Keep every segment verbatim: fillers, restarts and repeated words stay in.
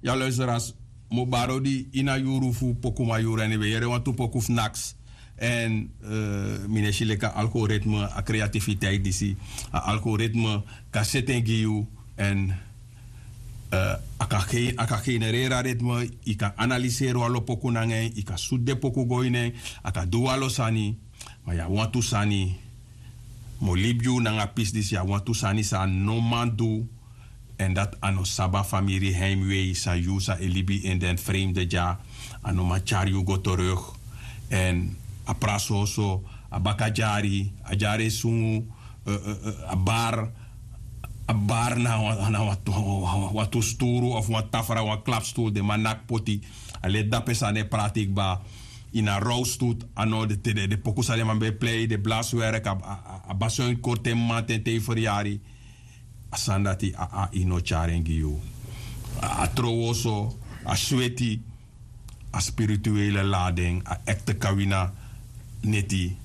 Ya luisteras, mobaro di ini a yuru fu pokuman yuru èn yu ben yere wantu poku fu naks. Èn mi no e si leki a algoritme, a kreatifiteit disi, a algoritme kan seti en gi yu. Èn a kan genereri a ritme. Yu kan analiseri wan lo poku nanga en, yu kan sutu den poku go ini en. A kan du wan lo sani. Ma yu abi wantu sani. Mi o libi yu nanga a pisi disi, yu abi wantu sani san a no man du. Èn dati a no sabi a famiri heimwei san yu sa e libi ini den fremde dya. A no man tyari yu go teruk. Èn a prasoso, a baka dyari, a dyari e sungu, a bar, a bar na wan tu sturu of wan tafra, wan klapsturu den man naki poti. A leti dape san den e prati kba. Ini a rowstut a no de te den poku san den man ben e plei den blaswerk, a basuin kori te mamanten te yu feryari. A sani dati a ai no tyari en gi yu. A trowoso, a sweti, a spirituele lading, a ekte kawina neti,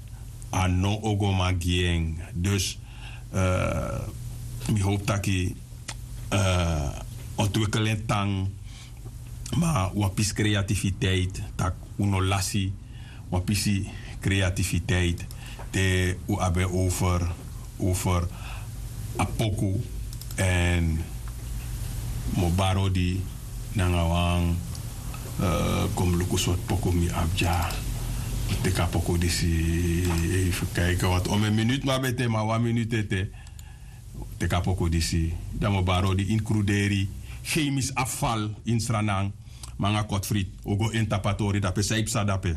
a no ogoman gi en. Dus mi howpu taki ontwikkel en tan. Ma wan pisi kreatifiteit, tak' un no lasi wan pisi kreatifiteit te un abi en over over a poku. Èn mi o bari odi nanga wan kon mi luku sortu poku mi abi dya. Teki a poku disi. Efu kaiki wantu omen minutu mi abi ete ma wan minutu ete. Teki a poku disi. Dan mi o bari odi ini kruderi, chemis afval ini sranan. Manga kotfrit o go ini tapu a tori dape san yu psa dape.